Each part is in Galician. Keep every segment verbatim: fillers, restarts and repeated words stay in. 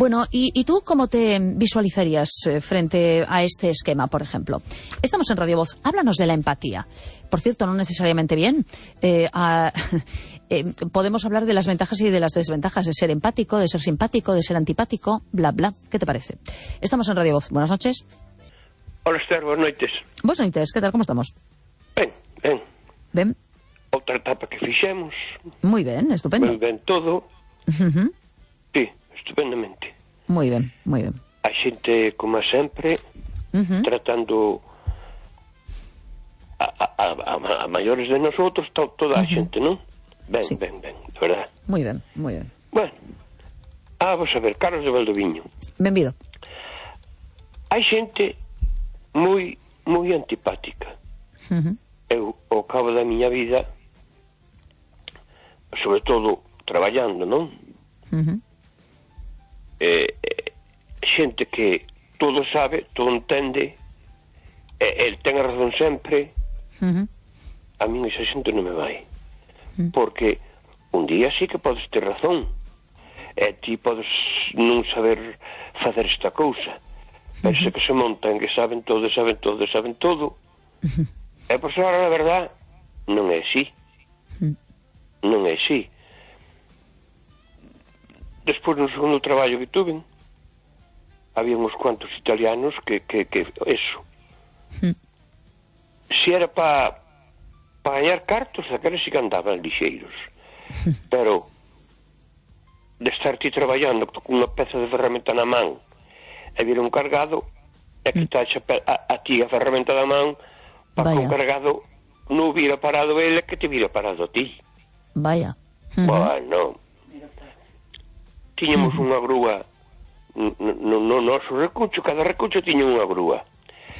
Bueno, ¿y, ¿y tú cómo te visualizarías eh, frente a este esquema, por ejemplo? Estamos en Radio Voz. Háblanos de la empatía. Por cierto, no necesariamente bien. Eh, a, eh, podemos hablar de las ventajas y de las desventajas de ser empático, de ser simpático, de ser antipático, bla, bla. ¿Qué te parece? Estamos en Radio Voz. Buenas noches. Hola, Esther, buenas noites. Buenas noites, ¿qué tal? ¿Cómo estamos? Ben, ben. Ben. Outra etapa que fixemos. Muy ben, estupendo. Ben, ben todo. Uh-huh. Sí, estupendamente. Moi ben, moi ben. A xente, como sempre, uh-huh. tratando a, a, a, a maiores de nosotros, to, toda a uh-huh. xente, non? Ben, sí. ben, ben, de verdad. Moi ben, moi ben. Bueno, ah, vamos a ver, Carlos de Valdoviño. Benvido. Hai xente moi, moi antipática. Uh-huh. Eu, ao cabo da miña vida, sobre todo traballando, non? Uh-huh. Eh, eh, xente que todo sabe, todo entende, eh, el ten a razón sempre. Uh-huh. A min esa xente non me vai, uh-huh. porque un día sí que podes ter razón, e eh, ti podes non saber facer esta cousa, pero uh-huh. se que se montan que saben todo, saben todo, saben todo, uh-huh. e pois agora na verdad non é así, uh-huh. non é así. Despois no segundo traballo que tuve había uns cuantos italianos que, que, que eso mm. se era para pa gañar cartos, aqueles sí que andaban lixeiros, mm. pero de estar ti traballando con unha peza de ferramenta na man e vir un cargado e que mm. taxa a, a ti a ferramenta da man para que un cargado non hubiera parado ele, que te hubiera parado a ti. Vaya. Uh-huh. Bueno, tiñamos uh-huh. unha grúa no, no, no noso recucho, cada recucho tiña unha grúa.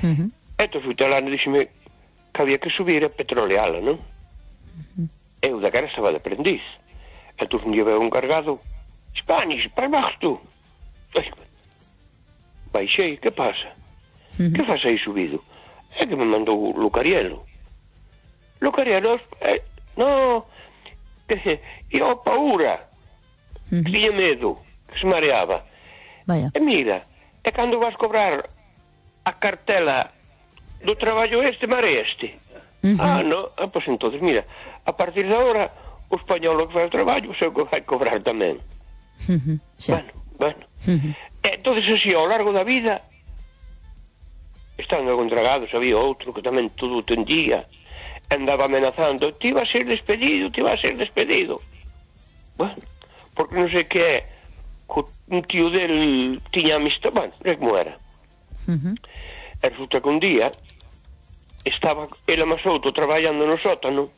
Uh-huh. Entón o italiano díxeme que había que subir a petroleala, non? Uh-huh. Eu da cara estaba de aprendiz. Entón un día veo un cargado, Spanish, para baixo tú. Baixei, que pasa? Uh-huh. Que faz aí subido? É que me mandou o Lucarielo. Lucarielo, eh, no, que, e o Paura. Uh-huh. Que tiña medo, que se mareaba. Vaya. E mira, e cando vas cobrar a cartela do traballo este, mareaste. Uh-huh. Ah, no, ah, pois entonces, mira, a partir de agora o español que faz o traballo se vai cobrar tamén. Uh-huh. Sí. Bueno, bueno. Uh-huh. E entonces así, ao largo da vida, estando contragados, había outro que tamén todo o tendía, andaba amenazando, ti va a ser despedido, ti va a ser despedido. Bueno, porque non sei que é, un tío del tiña amistad, bueno, é como era. Uh-huh. E resulta que un día estaba ele máis outro traballando no sótano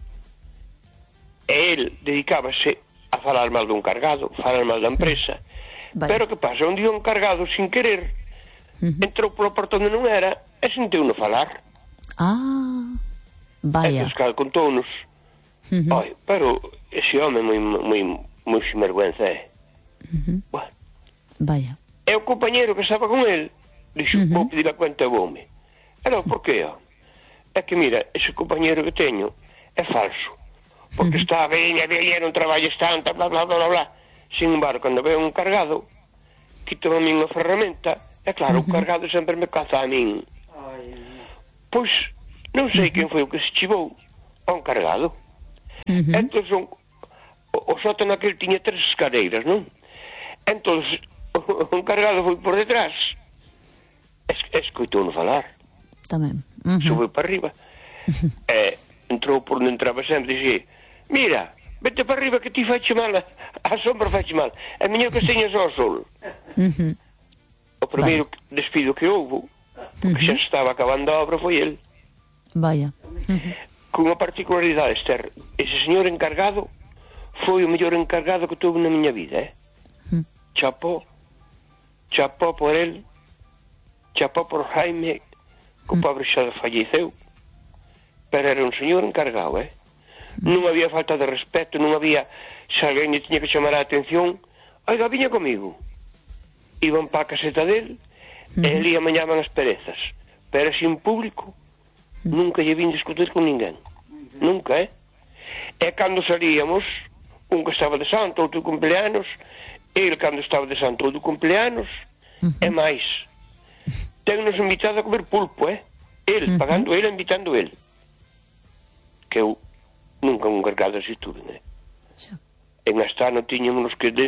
e el dedicábase a falar mal dun cargado, falar mal da empresa. Vale. Pero que pasa, un día un cargado sin querer uh-huh. entrou polo porto onde non era e sentiu-no falar. Ah, vaya. E Pascal contounos. Uh-huh. Ai, pero ese home moi moi moi sinvergüenza é. Uh-huh. Bueno. Vaya. E o compañero que estaba con el dixo, uh-huh. vou pedir a cuenta ao home. E non, por que? É que mira, ese compañero que teño é falso, porque uh-huh. está ben, e ben, non traballes tanto, bla, bla, bla, bla, bla. Sin embargo, cando veo un cargado, quito a min a ferramenta, e claro, uh-huh. o cargado sempre me caza a min. Pois, non sei uh-huh. quen foi o que se chivou a un cargado. Uh-huh. Entón, son, o, o sótano aquel tiña tres escaleiras, non? Entón, un cargado foi por detrás, es, escoitou-no falar. Tamén. Uh-huh. Sube para arriba. Uh-huh. E entrou por onde entraba sempre e dixía, mira, vete para arriba que ti faiche mal, a sombra faiche mal, é mellor que teñas ao sol. Uh-huh. O primeiro vale. despido que houve, porque uh-huh. xa estaba acabando a obra, foi el. Vaya. Uh-huh. Con unha particularidade, Esther, ese señor encargado foi o mellor encargado que tuve na miña vida, eh? Uh-huh. Chapó, chapó por el, chapó por Jaime, que o pobre xa falleceu, pero era un señor encargado, eh? Non había falta de respeto, non había, se alguén lle tiña que chamar a atención, oiga, viña comigo. Iban pa a caseta del, uh-huh. e ali amañaban as perezas, pero así en público, uh-huh. nunca lle vin discutir con ninguén, uh-huh. nunca, eh? E cando salíamos, un que estaba de santo, outro cumpleanos, ele cando estaba de santo do cumpleanos, uh-huh. e máis, ten-nos invitado a comer pulpo, eh? Ele, uh-huh. pagando ele, invitando ele. Que eu nunca un cargado así tuve, né? En Astano tiñamos que